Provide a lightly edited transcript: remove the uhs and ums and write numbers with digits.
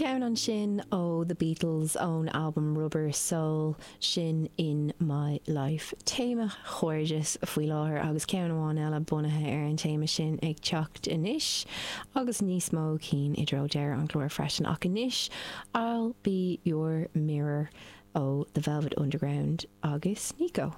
Ceann ansin ó The Beatles ón albam Rubber Soul, sin In My Life. Téama chairdis faoi láthair agus ceann amháin eile bunaithe ar an téama sin ag teacht anois agus níos mó cinn i dtreo deireadh an chláir freisin ach anois I'll Be Your Mirror ó The Velvet Underground agus Nico.